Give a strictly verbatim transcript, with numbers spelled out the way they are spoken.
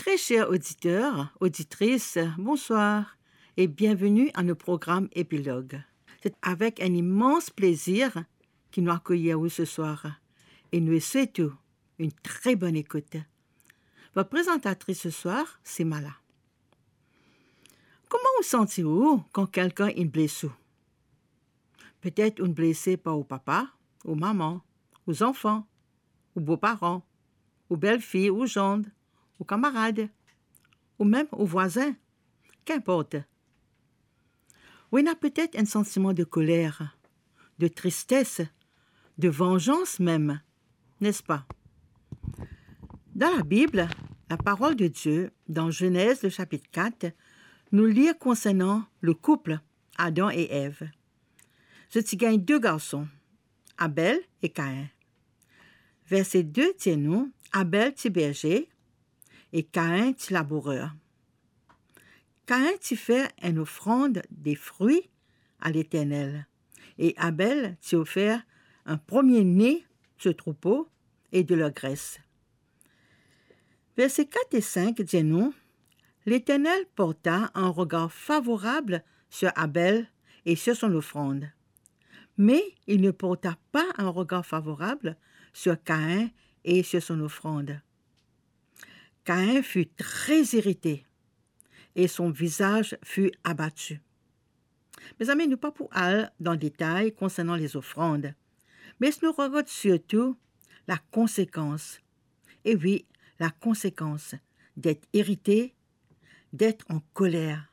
Très cher auditeur, auditrice, bonsoir et bienvenue à nos programmes épilogues. C'est avec un immense plaisir ki nou akeyir ou ce soir e nou swet ou une très bonne écoute. Votre présentatrice ce soir, c'est Mala. Kouma ou santi ou kan kelkenn inn bles ou? Petet ou'nn blese par ou papa, ou mama, ou zanfan, ou boparan, ou belfi, ou zand, ou kamarad, ou mem ou vwazin, kinport. Ou ena petet enn santiman de koler, de tristes, de vanzans mem, nespa? Dan Labib, la parol de Die, dan Zenez, le sapit kat, nou lir konsernan le koup Adam e Ev. Zot ti gagn de garson, Abel e Kain. Verse de dir nou, Abel ti berze e Kain ti labourer. Kain ti fer enn ofrand de fri a Leternel, e Abel ti ofer enn premie ne so troupo e de ler gres. Verse kat e sink dir nou, Leternel porta enn regar favorab sur Abel et sur son offrande, mais il ne porta pas un regard favorable sur Caïn et sur son offrande. Caïn fut très irrité et son visage fut abattu. Mezami, nou pa pou al dan detay konsernan lezofrand, me nou regard sirtou lakonsekans. E wi, lakonsekans d'être irrité, d'être en colère.